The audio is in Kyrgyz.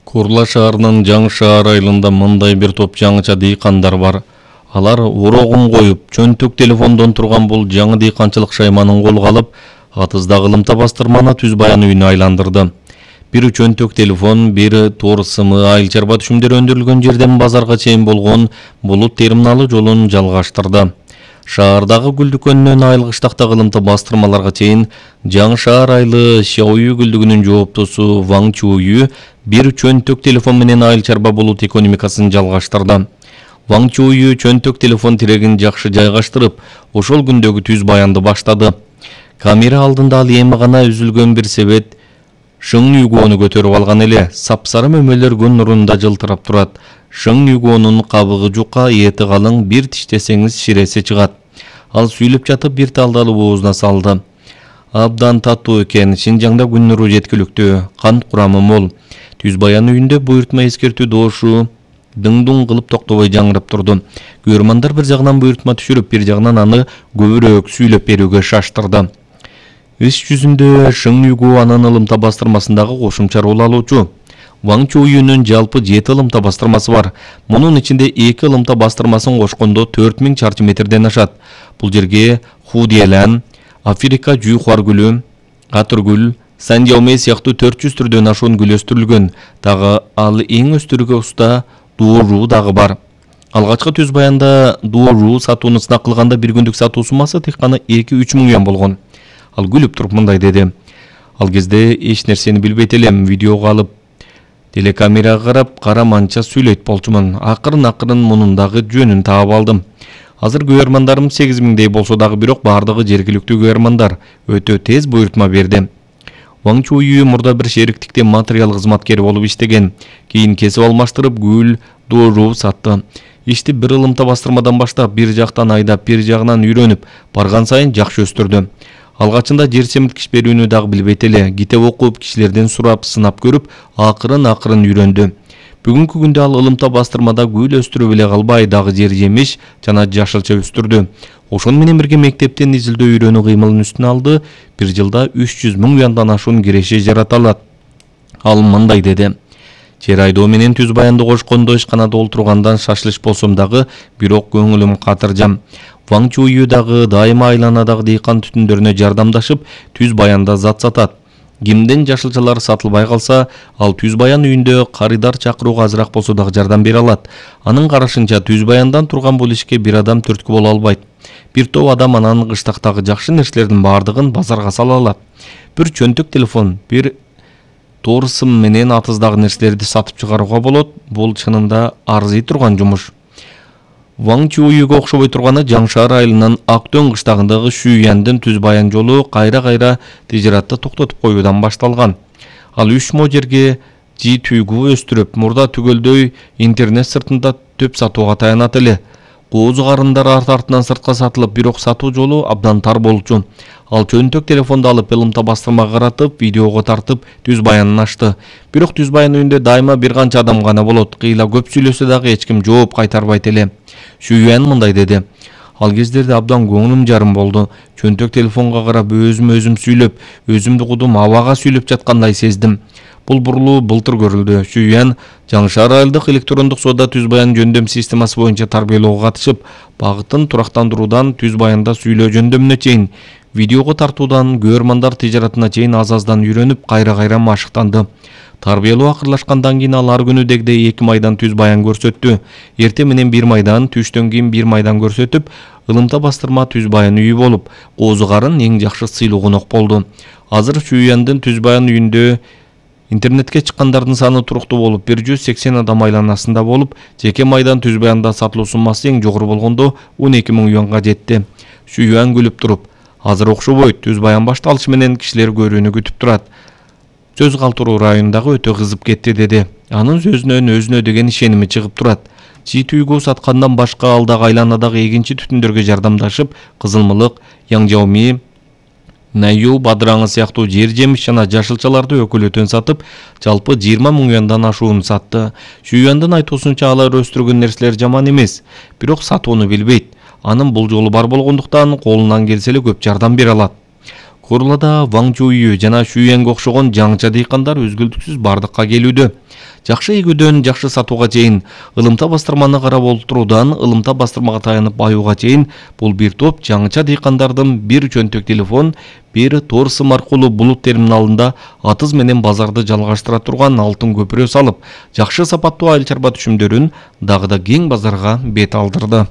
Курла шаарынын Жаңы Шаар айылында мындай бир топ жаңыча дыйкандар бар. Алар урогун коюп, чөнтөк телефондон турган бул жаңы дыйканчылык шайманын колго алып, атыздагы ылымта бастырманы Түз Баян үйүнө айландырды. Бири чөнтөк телефон, бири тор сымы, айыл чарба түшүмдөрү өндүрүлгөн жерден базарга чейин болгон булут терминалы жолун жалгаштырды. Шаардагы гүл дүкөнүнөн айыл кыштактагы ылымта бастырмаларга чейин Жаңы Шаар айылы Шаоюй гүлдүгүнүн жооптусу Ваң Чуюй бир чөнтөк телефон менен айыл чарба булут экономикасын жалгаштырды. Ваң Чуюй чөнтөк телефон тирегин жакшы жайгаштырып, ошол күндөгү Түз Баянды баштады. Камера алдында ал эми гана үзүлгөн бир себет шың югоону көтөрүп алган эле. Сапсары мөмөлөр күн нурунда жылтырап турат. Шың югоонун кабыгы жука, эти калың, бир тиштесеңиз ширесе чыгат. Ал сүйлөп жатып бир талды алып оозуна салды. Абдан таттуу экен, Шинжаңда күн нуру жеткиликтүү, кант курамы мол. Түз Баян үйүндө буйртма эскертүү доошу дың-дуң кылып токтобой жаңырап турду. Көрөрмандар бир жагынан буйртма түшүрүп, бир жагынан аны көбүрөөк сүйлөп берүүгө шаштырды. Иш жүзүндө шың югоо анын ылымта бастырмасындагы кошумча рол алуучу. Ваң Чуюйнун жалпы 7 ылымта бастырмасы бар. Мунун ичинде 2 ылымта бастырмасын кошкондо 4000 чарчы метрден ашат. Бул жерге Худиэлан, Африка жүйхуар гүлү, Катыргүл, Санжауме сыяктуу 400 түрдөн ашуун гүл өстүрүлгөн. Дагы ал эң өстүрүүгө уста Дуору дагы бар. Алгачкы Түз Баянда Дуору сатууну сынак кылганда бир күндүк сатуу суммасы тек гана 2-3 миң юан болгон. Ал күлүп туруп мындай деди: "Ал кезде эч нерсени билбейт элем, видеого алып, телекамерага карап, караманча сүйлөйт болчумун. Акырын мунун дагы жөнүн таап алдым. Азыр көрөрмандарым 8000дей болсо дагы, бирок бардыгы жергиликтүү көрөрмандар. Өтө тез буйртма берди." Ваң Чуюй мурда бир шериктикте материал кызматкери болуп иштеген. Кийин кесип алмаштырып гүл, Дуору сатты. Ишти бир ылымта бастырмадан баштап, бир жактан айдап, бир жагынан үйрөнүп, барган сайын жакшы өстүрдү. Алгачында жер семирткич берүүнү дагы билбейт эле. Китеп окуп, кишилерден сурап, сынап көрүп, акырын үйрөндү. Бүгүнкү күндө ал ылымта бастырмада гүл өстүрүп эле калбай, дагы жер жемиш жана жашылча өстүрдү. Ошону менен бирге мектептен изилдөө үйрөнүү кыймылын үстүнө алды. Бир жылда 300 миң юандан ашуун киреше жарата алат. Ал мындай деди: "Жер айдоо менен Түз Баянды кошкондо ишканада олтургандан шашылыш болсом дагы, бирок көңүлүм катыржам. Ваң Чуюй дагы дайыма айланадагы дыйкан түтүндөрүнө жардамдашып, Түз Баянда зат сатат. Кимден жашылчалар сатылбай калса, ал Түз Баян үйүндө карыдар чакырууга азыраак болсо дагы жардам бере алат. Анын карашынча, Түз Баяндан турган бул ишке бир адам түрткү боло албайт. Бир топ адам анан кыштактагы жакшы нерселердин бардыгын базарга сала алат. Бир чөнтөк телефон, бир тор сым менен атыздагы нерселерди сатып чыгарууга болот. Бул чынында арзый турган жумуш." Ваң Чуюйга окшобой турганы Жаңы Шаар айылынын Актөң кыштагындагы Шүйяндын Түз Баян жолу кайра тижаратты токтотуп коюудан башталган. Ал 3 мо жерге жий түйгү өстүрүп, мурда түгөлдөй интернет сыртында төп сатууга таянат эле. Кооз карындар артынан сыртка сатылып, бирок сатуу жолу абдан тар болчу. Ал чөнтөк телефонду алып, ылымта бастырмага каратып, видеого тартып, Түз Баянын ачты. Бирок Түз Баян үйүндө дайыма бир канча адам гана болот. Кыйла көп сүйлөсө дагы эч ким жооп кайтарбайт эле. Шүйян мындай деди: "Ал кездерде абдан көңүлүм жарым болду. Чөнтөк телефонго карап, өзүм сүйлөп, өзүмдү кудум абага сүйлөп жаткандай сездим. Бул бурулуу былтыр көрүлдү." Шүйян Жаңы Шаар айылдык электрондук соода Түз Баян жөндөм системасы боюнча тарбиялоого катышып, багытын турактандыруудан Түз Баянда сүйлөө жөндөмүнө чейин, видеого тартуудан көрөрмандар тижаратына чейин аз-аздан үйрөнүп, кайра машыктанды. Тарбиялоо акырлашкандан кийин ал ар күнүдегидей 2 майдан Түз Баян көрсөттү. Эрте менен 1 майдан, түштөн кийин 1 майдан көрсөтүп, ылымта бастырма Түз Баян үйү болуп, Коозу карын эң жакшы сыйлуу конок болду. Азыр Шүйяндын Түз Баян үйүндө интернетке чыккандардын саны туруктуу болуп, 180 адам айланасында болуп, жеке майдан Түз Баянда сатылуу суммасы эң жогору болгондо 12 миң юанга жетти. Шүйян күлүп туруп: "Азыр окшобойт, Түз Баян башталышы менен кишилер көрүүнү күтүп турат. Сөз калтыруу районундагы өтө кызып кетти" деди. Анын сөзүнөн өзүнө деген ишеними чыгып турат. Жий түйгү саткандан башка ал дагы айланадагы эгинчи түтүндөргө жардамдашып, кызылмылык, Яңжауми, Наю, Бадыраңы сыяктуу жер жемиш жана жашылчаларды өкөлөтөн сатып, жалпы 20 миң юандан ашуун сатты. Шүйяндын айтуусунча, алар өстүргөн нерселер жаман эмес, бирок сатууну билбейт. Анын бул жолу бар болгондуктан колунан келсе эле көп жардам бере алат. Курлада Ваң Жуйю жана Шүйенге окшогон жаңыча дыйкандар өзгөлтүксүз бардыкка келүүдө. Жакшы эгүүдөн жакшы сатууга чейин, ылымта бастырманы карап олтуруудан ылымта бастырмага таянып баюуга чейин бул бир топ жаңыча дыйкандардын бир чөнтөк телефон, бир тор сым аркылуу булут терминалында атыз менен базарды жалгаштыра турган алтын көпүрө салып, жакшы сапаттуу айыл чарба түшүмдөрүн дагы да кең базарга бет алдырды.